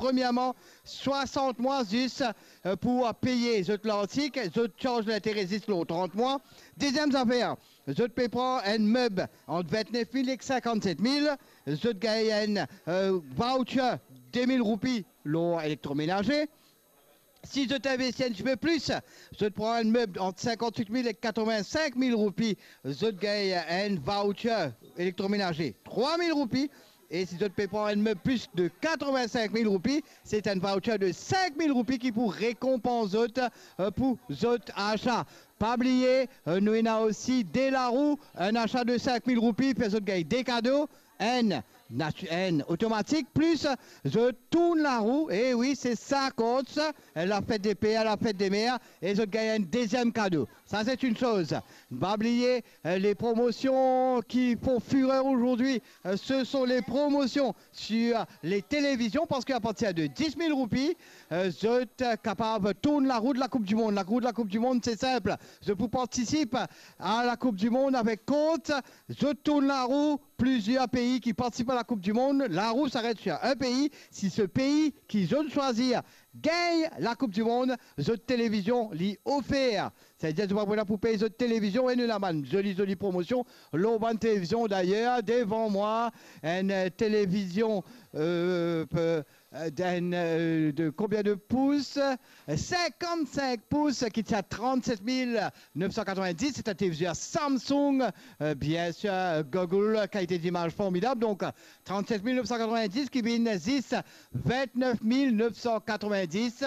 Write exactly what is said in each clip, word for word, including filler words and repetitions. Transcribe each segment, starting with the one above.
Premierman, swasant mwa zis, eh, pou peye zot lartik, zot charz lintere zis lor trant mwa. Deziem zafer, zot pe pran enn meb ant vintnef mil ek sinkant-set mil, zot gagn enn, eh, voucher de mil roupi lor elektromenaze. Si zot investi enn tipe plis, zot pran enn meb ant sinkant-wit mil ek katrevin-sink mil roupi, zot gagn enn voucher elektromenaze trwa mil roupi. E si zot pe pran enn meb plis de katrevin-sink mil roupi, se enn voucher de sink mil roupi ki pou rekonpans zot, eh, pou zot asa. Pa bliye, eh, nou ena osi de larou, enn asa de sink mil roupi, fer zot gagn de kado, enn nati-, enn otomatik, plis zot tourn larou, e wi, se sa, Courts, eh, lafet de per, lafet de mer, e zot gagn enn deziem kado. Ça, c'est une chose. Pa bliye, eh, les promotions qui font fureur aujourd'hui, eh, ce sont les promotions sur les télévisions, parce qu'à partir de dis mil roupi, eh, zot kapav tourn larou de la Coupe du Monde. Larou de la Coupe du Monde, c'est simple. Zot pou partisip à la Coupe du Monde avec Courts. Zot tourn larou, plizier pei ki partisip à la Coupe du Monde, larou s'arrête sur un pays. Si ce pays ki zot swazir gagn la Coupe du Monde, zot televizion li ofer. Savedir zot pa pou pey zot televizion, e nou ena bann zoli, zoli promosion lor bann televizion. Dayer, devan mwa, enn, eh, televizion, eh, pe-, eh, enn, eh, de combien de pouces? Eh, cinquante-cinq pouces, ki ti a trente-sept mille neuf cent quatre-vingt-dix, c'est un téléviseur Samsung, eh, bien sûr, eh, Google, qualité d'image formidable. Donc, eh, trente-sept mille neuf cent quatre-vingt-dix ki vinn zis vingt-neuf mille neuf cent quatre-vingt-dix.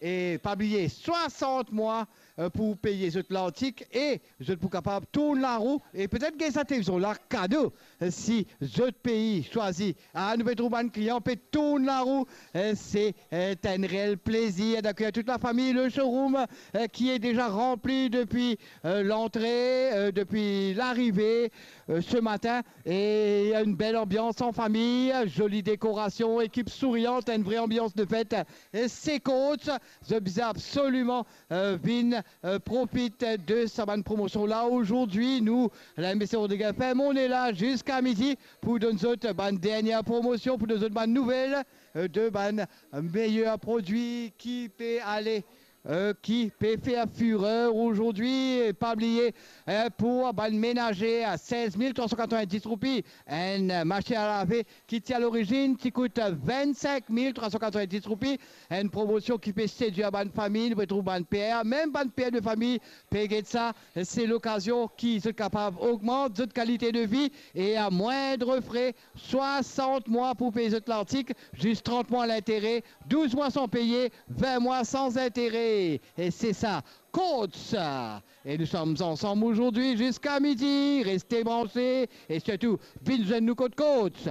E pa bliye, swasant mwa, eh, pou peye zot lartik e zot pou kapav tourn larou e petet gagn sa televizion la kado, eh, si zot pei swazir. Ah, nou pe trouv bann klian pe tourn larou, eh, se, eh, enn reel plezir d'accueillir toute la famille. Le showroom, eh, qui est déjà rempli depuis, eh, l'entrée, eh, depuis l'arrivée, eh, ce matin. Et il y a une belle ambiance en famille, jolie décoration, équipe souriante, une vraie ambiance de fête. E se Courts, zot bizin absoliman, eh, vinn, eh, profit de sa bann promosion la. Azordi, nou, la M B C Rodrigues F M, on est là jusqu'à midi pou donn zot bann dernie promosion, pou donn zot bann nouvel, eh, de bann meyer prodwi ki pe ale, eh, ki pe fer fureur azordi. E pa bliye, eh, pou bann menaze, a sez mil trwa san katrevin-dis roupi, enn masinn a lave ki ti a lorizinn ti kout vinn-sink mil trwa san katrevin-dis roupi. Enn promosion ki pe sedwir bann fami, nou pe trouv bann per, mem bann per de fami pe get sa. Se lokazion ki zot kapav ogmant zot kalite de vi e a mwindre fre, swasant mwa pou pey zot lartik, zis trant mwa lintere, douz mwa san peye, vin mwa san zintere. E se sa, Courts. E nous sommes ensemble aujourd'hui jusqu'à midi. Restez branchés et surtout, vinn zwenn nou kot Courts.